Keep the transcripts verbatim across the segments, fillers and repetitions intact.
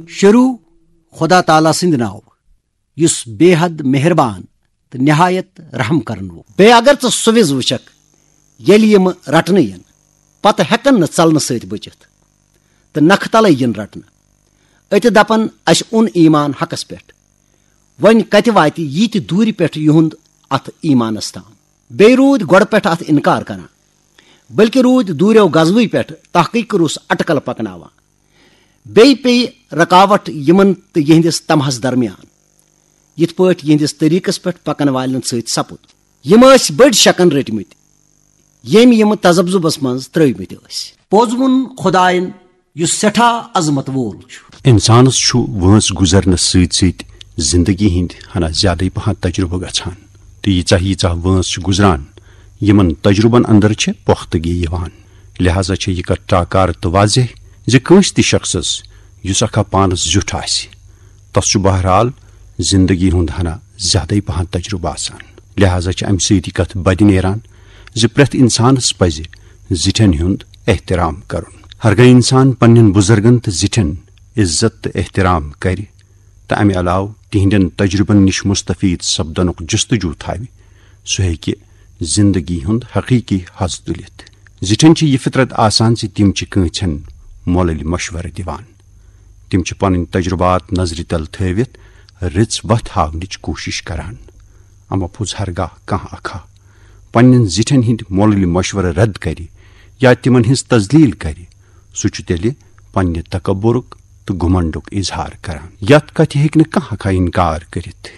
شروع خدا تعالیٰ سٕنٛدِ ناوٕ، یُس بے حد مہربان تہٕ نہایت رحم کرن وول۔ بیٚیہِ اگر ژٕ سُہ وِز وٕچھکھ، ییٚلہِ یِم رٹنہٕ یِن، پتہٕ ہٮ۪کن نہٕ ژلنہٕ سۭتۍ بٔچِتھ تہٕ نکھٕ تلے یِن رٹنہٕ۔ أتہِ دپن، "اسہِ اوٚن ایمان حقس پٮ۪ٹھ۔" وۄنۍ کتہِ واتہِ یہِ تہِ دوٗرِ پٮ۪ٹھ یِہُنٛد اتھ ایمانس تام؟ بیٚیہِ روٗدۍ گۄڈٕ پٮ۪ٹھ اتھ انکار کران، بلکہِ روٗدۍ دوٗریو غزوٕے پٮ۪ٹھ تحقیق روٚس اٹکل پکناوان۔ بیٚیہِ پیٚیہِ رکاوٹ یِمن تہٕ یِہنٛدِس طمعس درمیان، یِتھ پٲٹھۍ یِہنٛدِس طریٖقس پٮ۪ٹھ پکن والٮ۪ن سۭتۍ سپُد۔ یِم ٲسۍ بٔڑۍ شکن رٔٹۍ مٕتۍ، ییٚمۍ یِم تذبذبس منٛز ترٲوۍ مٕتۍ ٲسۍ۔ پوٚز ووٚن خداین، یُس سٮ۪ٹھاہ عظمت وول چھُ۔ انسانس چھُ وٲنٛس گُزرنس سۭتۍ سۭتۍ زندگی ہٕنٛدۍ ہنا زیادٕے پہن تجربہٕ گژھان، تہٕ ییٖژاہ ییٖژاہ وٲنٛس چھِ گُزران، یِمن تجربن اندر چھِ پۄختگی یِوان۔ لہذا چھےٚ یہِ کتھ ٹاکار تہٕ واضح زِ کٲنٛسہِ تہِ شخصس، یُس اکھا پانس زیُٹھ آسہِ، تس چھُ بہرحال زندگی ہُنٛد ہنا زیادٕے پہن تجربہٕ آسان۔ لہذا چھِ امہِ سۭتۍ یہِ کتھ بدِ نیران زِ پرٛٮ۪تھ انسانس پزِ زِٹھٮ۪ن ہُنٛد احترام کرُن۔ ہرگاہ انسان پننٮ۪ن بزرگن تہٕ زِٹھٮ۪ن عزت تہٕ احترام کرِ، تہٕ امہِ علاوٕ تِہنٛدٮ۪ن تجربن نِش مستفید سپدنُک جستجو تھاوِ، سُہ ہیٚکہِ زندگی ہُنٛد حقیقی حظ تُلِتھ۔ زِٹھٮ۪ن چھِ یہِ فطرت آسان زِ تِم چھِ کٲنٛسہِ ہن مۄلٕلۍ مشورٕ دِوان۔ تِم چھِ پنٕنۍ تجربات نظرِ تل تھٲوِتھ رٕژ وتھ ہاونٕچ کوٗشش کران۔ اما پوٚز ہرگاہ کانٛہہ اکھا پننٮ۪ن زِٹھٮ۪ن ہٕنٛدۍ مۄلٕلۍ مشورٕ رد کرِ یا تِمن ہٕنٛز تذلیل کرِ، سُہ چھُ تیٚلہِ پننہِ تکبرُک تہٕ گھمنڈُک اظہار کران۔ یتھ کتھِ ہیٚکہِ نہٕ کانٛہہ اکھا انکار کٔرِتھ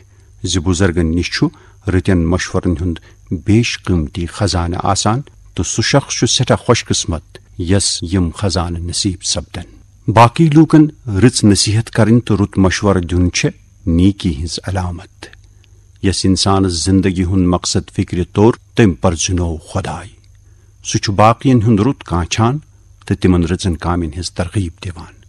زِ بزرگن نِش چھُ رٕتٮ۪ن مشورن ہُنٛد بیش قۭمتی خزانہٕ آسان، تہٕ سُہ شخص چھُ سٮ۪ٹھاہ خوش قسمت یس یِم خزانہٕ نصیب سپدن۔ باقی لوٗکن رٕژ نصیحت کرٕنۍ تہٕ رُت مشورٕ دیُن چھِ نیکی ہٕنٛز علامت۔ یس انسانس زندگی ہُنٛد مقصد فکرِ توٚر، تٔمۍ پرزنوو خداے۔ سُہ چھُ باقین ہُنٛد رُت کانچھان تہٕ تِمن رٕژن کامٮ۪ن ہٕنٛز ترغیب دِوان۔